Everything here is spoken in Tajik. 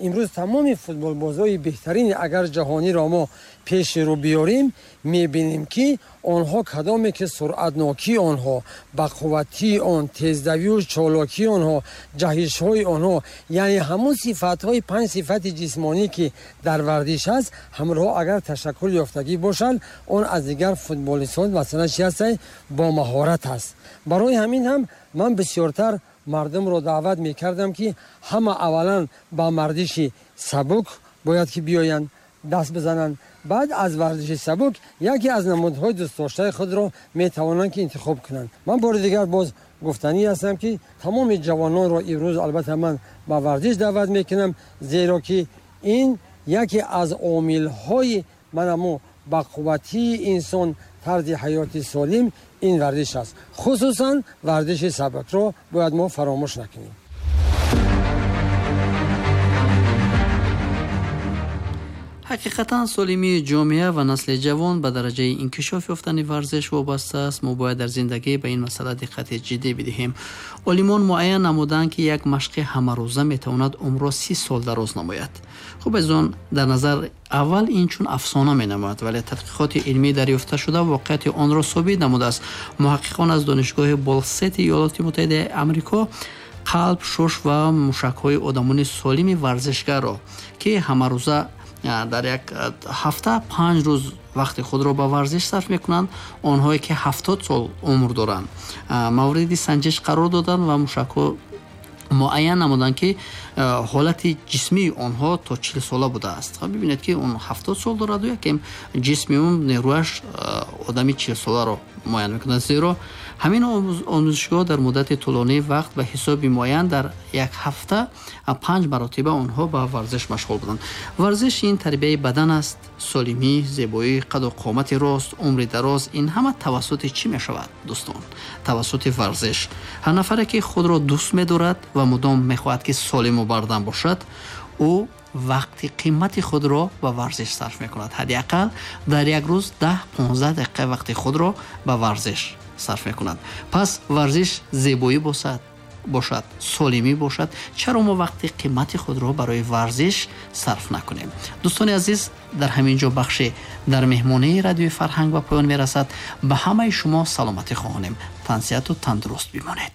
Имрӯз тамоми футболбозҳои беҳтарини агар ҷаҳониро мо пеши рӯ биёрем, мебинем, ки онҳо кадоме ки суръатнокии онҳо, бақувватии он, тездавию чолокии онҳо, ҷаҳишҳои онҳо, яъне ҳамун сифатҳои панҷ сифати ҷисмонӣ, ки дар варзиш аст, ҳамроҳ агар ташаккул ёфтагӣ бошанд, он аз дигар футболистҳо масалан чи ҳастанд, бо маҳорат аст. Барои ҳамин ҳам ман бисёртар мардумро даъват мекардам, ки ҳама аввалан ба варзиши сабук бояд ки биёянд, даст бизананд. Баъд аз варзиши сабук яке аз намудҳои дӯстдоштаи худро метавонанд ки интихоб кунанд. Ман бори дигар боз гуфтанӣ ҳастам, ки тамоми ҷавононро имрӯз албатта ман ба варзиш даъват мекунам, зеро ки ин яке аз омилҳои манамо ба қувватии инсон, тарзи ҳаёти солим ин варзиш аст. Хусусан варзиши сабукро бояд мо фаромӯш накунем. Ҳақиқатан солимии ҷомеа ва насли ҷавон ба дараҷаи инкишоф ёфтани варзиш вобаста аст. Мо бояд дар зиндагӣ ба ин масъала диққати ҷиддӣ бидиҳем. Олимон муайян намуданд, ки як машқи ҳамарӯза метавонад умрро 30 сол дароз намояд. Хуб, аз он дар назар аввал ин чун афсона менамояд, вале тадқиқоти илмӣ дарёфта шуда воқеияти онро собит намудааст. Муҳаққиқон аз донишгоҳи Болсети Иёлоти Муттаҳидаи Амрико қалб, шуш ва мушакҳои одамони солими варзишгарро, ки ҳамарӯза дар як ҳафта 5 рӯз вақти худро ба варзиш сарф мекунанд, онҳое ки 70 сол умр доранд, мавриди санҷиш қарор доданд ва мушакҳо муайян намуданд, ки ҳолати ҷисмии онҳо то 40 сола будааст. Бибинед, ки он 70 сол дораду якем ҷисми он, нерӯяш одами 40 соларо муайян мекунад. Зеро ҳамин омӯзишгоҳ дар муддати тӯлонии вақт ба ҳисоби муайян дар як ҳафта 5 маротиба онҳо ба варзиш машғул буданд. Варзиш ин тарбияи бадан аст. Солимӣ, зебоӣ, қаду қомати рост, умри дароз, ин ҳама тавассути чӣ мешавад, дӯстон? Тавассути варзиш. Ҳар нафаре ки худро дӯст медорад ва мудом мехоҳад, ки солиму бардам бошад, ӯ вақти қимати худро ба варзиш сарф мекунад. Ҳадди ақал дар як рӯз 10-15 дақиқа вақти худро ба варзиш сарф мекунад. Пас варзиш зебоӣ бошад, солимӣ бошад, чаро мо вақти қимати худро барои варзиш сарф накунем? Дӯстони азиз, дар ҳамин ҷо бахши дар меҳмонии радиои фарҳанг ба поён мерасад. Ба ҳамаи шумо саломатӣ хоҳонем. Тансиҳату тандуруст бимонед.